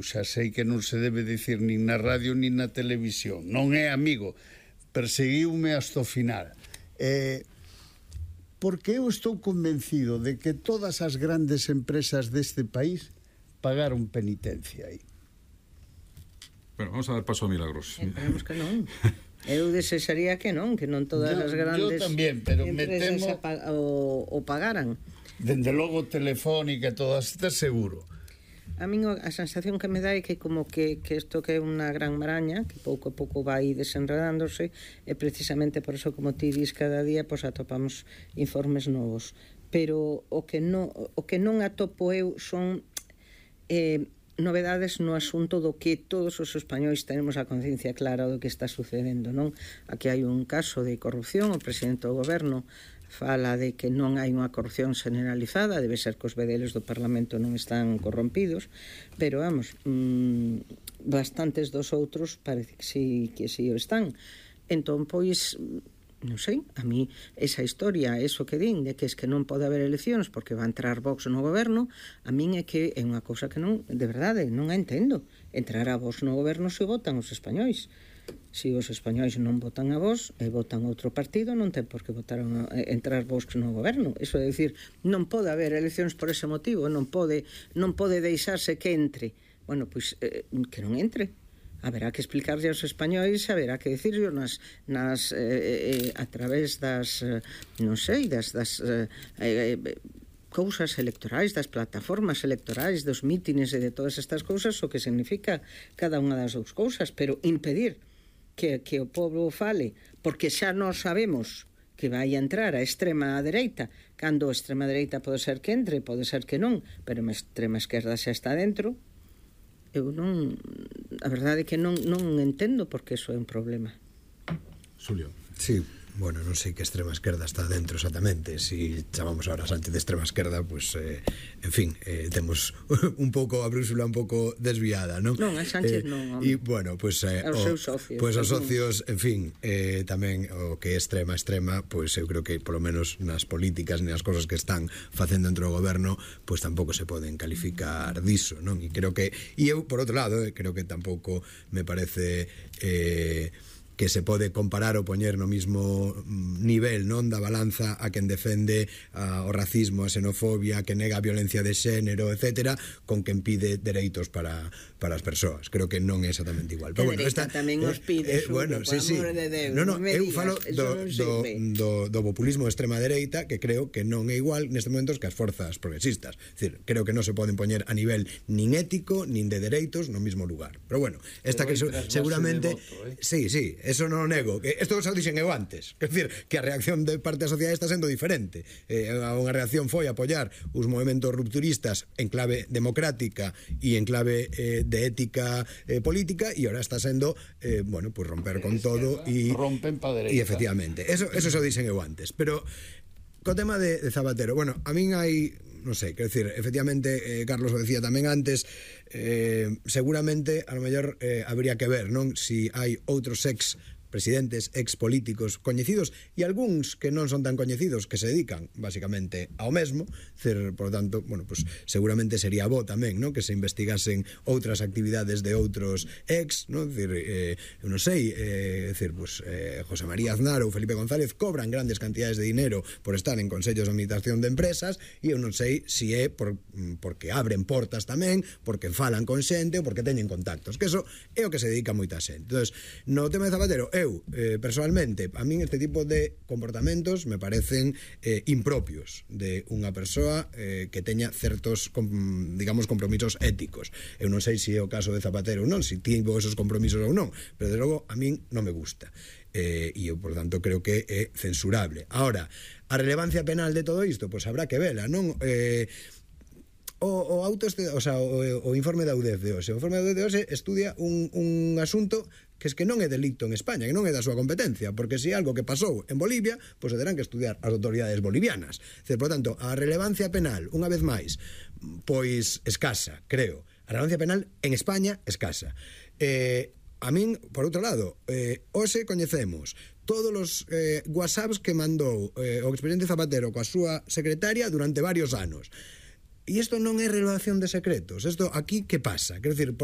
xa sei que non se debe dicir nin na radio nin na televisión, non é amigo, perseguiume hasta o final. Porque eu estou convencido de que todas as grandes empresas deste país pagaron penitencia aí. Bueno, vamos a dar paso a Milagros. Esperemos que non. Eu desexaría que non todas as grandes tamén, pero empresas o pagaran. Dende logo Telefónica e todas estas seguro. A min a sensación que me dá é que como que isto que é unha gran maraña, que pouco a pouco vai desenredándose, e precisamente por eso, como ti dis, cada día pois atopamos informes novos. Pero o que non atopo eu son novedades no asunto do que todos os españois tenemos a conciencia clara do que está sucedendo, non? Aquí hai un caso de corrupción, o presidente do goberno fala de que non hai unha corrupción generalizada, debe ser que os vedeles do Parlamento non están corrompidos, pero vamos, bastantes dos outros parece que sí o están. Entón, pois, non sei, a mí esa historia, eso que din de que es que non pode haber eleccións porque va a entrar Vox no goberno, a min é que é unha cousa que non, de verdade, non a entendo. Entrará Vox no goberno se votan os españois. Se os españois non votan a Vox e votan outro partido, non ten por que entrar Vox no goberno. Iso é dicir, non pode haber eleccións por ese motivo, non pode deixarse que entre. Bueno, pois que non entre. Haberá que explicarlle aos españois, haberá que dicirlo a través das non sei, das cousas electorais, das plataformas electorais, dos mítines e de todas estas cousas, o que significa cada unha das dous cousas, pero impedir que o povo fale, porque xa non sabemos que vai a entrar a extrema dereita, cando a extrema dereita pode ser que entre, pode ser que non, pero a extrema esquerda xa está dentro. Eu non, a verdade é que non entendo porque iso é un problema. Xulio. Sí, bueno, non sei que extrema esquerda está dentro exactamente. Si chamamos ahora a Sánchez de extrema esquerda, pues, en fin, temos un pouco a brúxula un pouco desviada, non? Non, a Sánchez non, home. E, bueno, pues, os seus socios. Pues os socios, en fin, tamén o que é extrema, pues eu creo que polo menos nas políticas e nas cosas que están facendo dentro do goberno, pues tampouco se poden calificar diso, non? E creo que, e eu, por outro lado, creo que tampouco me parece que se pode comparar ou poñer no mismo nivel, non, da balanza a quen defende o racismo, a xenofobia, que nega a violencia de xénero, etcétera, con quen pide dereitos para as persoas. Creo que non é exactamente igual. Pero bueno, esta tamén os pide, bueno, sí, de Deus. Non, eu falo do populismo de extrema dereita, que creo que non é igual nestes momentos que as forzas progresistas. É dicir, creo que non se poden poñer a nivel nin ético, nin de dereitos no mismo lugar. Pero bueno, esta que seguramente sí, eso non o nego. Isto xa o dixen eu antes. É dicir, que a reacción de parte da sociedade está sendo diferente. Unha reacción foi apoiar os movementos rupturistas en clave democrática e en clave de ética política, e ahora está sendo, bueno, pues romper con todo e rompen pa dereita. E efectivamente, eso xa o dixen eu antes. Pero co tema de Zapatero, bueno, a min hai, non sei, quero dicir, efectivamente, Carlos o decía tamén antes, seguramente, a lo mellor, habría que ver, non, si hai outros presidentes, expolíticos coñecidos e algúns que non son tan coñecidos que se dedican basicamente ao mesmo, por tanto, bueno, pues seguramente sería bo tamén, ¿no?, que se investigasen outras actividades de outros ¿no? Eu non sei, pues, José María Aznar ou Felipe González cobran grandes cantidades de dinero por estar en consellos de administración de empresas, e eu non sei si é porque abren portas tamén, porque falan con xente ou porque teñen contactos, que eso é o que se dedica moita xente. Entonces, no tema de Zapatero, personalmente, a min este tipo de comportamentos me parecen impropios de unha persoa que teña certos, digamos, compromisos éticos. Eu non sei se é o caso de Zapatero ou non, se tivo esos compromisos ou non, pero de logo a min non me gusta. E eu, por tanto, creo que é censurable. Ahora, a relevancia penal de todo isto, pois habrá que vela, non? O informe da UDEF de hoxe. O informe da UDEF de hoxe estudia un asunto que es que non é delito en España, que non é da súa competencia, porque se é algo que pasou en Bolivia, pois se terán que estudiar as autoridades bolivianas. Por tanto, a relevancia penal, unha vez máis, pois escasa, creo. A relevancia penal en España, escasa. A min, por outro lado, hoxe coñecemos todos os whatsapps que mandou o expresidente Zapatero coa súa secretaria durante varios anos. E isto non é revelación de secretos. Isto aquí, que pasa? Quero dicir, porque